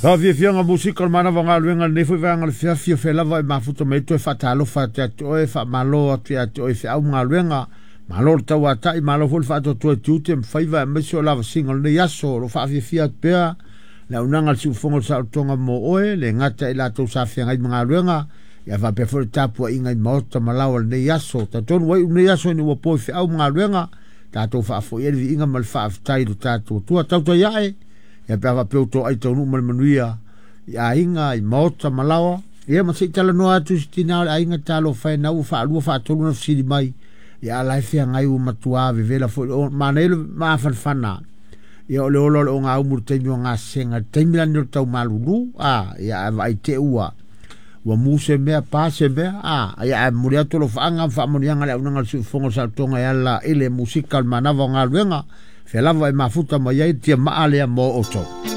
Faafiafiaga musika o le manava o galuega i lenei foi vaega o le fiafia o fea lava e mafuta mai ai toe faatalofa atu ia te oe, faamalo atu ia te oe i feau ma galuega. Malo le tauatai, malo foi le faatoatoa i tiute ma faiva aemaise o lavasiga o lenei aso. O lo o faafiafia atu pea le auaunaga a le Siufofoga o le Saolotoga mo oe, le gata i latou sa feagai ma galuega, ia faapea foi le tapuaiga i maota ma laoa i lenei aso. Talitonu ua iu lenei aso ina ua po i feau ma galuega, tatou faafoia le viiga ma le faafetai i lo tatou Atua. Tautai ae, ia pe a faapea ua toai taunuu ma le manuia i aiga, i maota ma laoa, ia ma se i talanoa atu i se tina o le aiga talofa e na ua faalua faatolu na fesili mai, ia a la e feagai ua matua vevela foi le manaia le mafanafana. Ia o le ola o le ogaumu i le taimi o gasega, le taimi lani o le tau malulu, a, ia ae vaai te ua ua mu se mea, pa se mea, a, ia ae momoli atu alofaaga ma faamanuiaga le auaunaga a le Siufofoga o le Saolotoga e ala i le musika o le manava o galuega, fea lava e mafuta mai ai le tiamaa lea mo outou.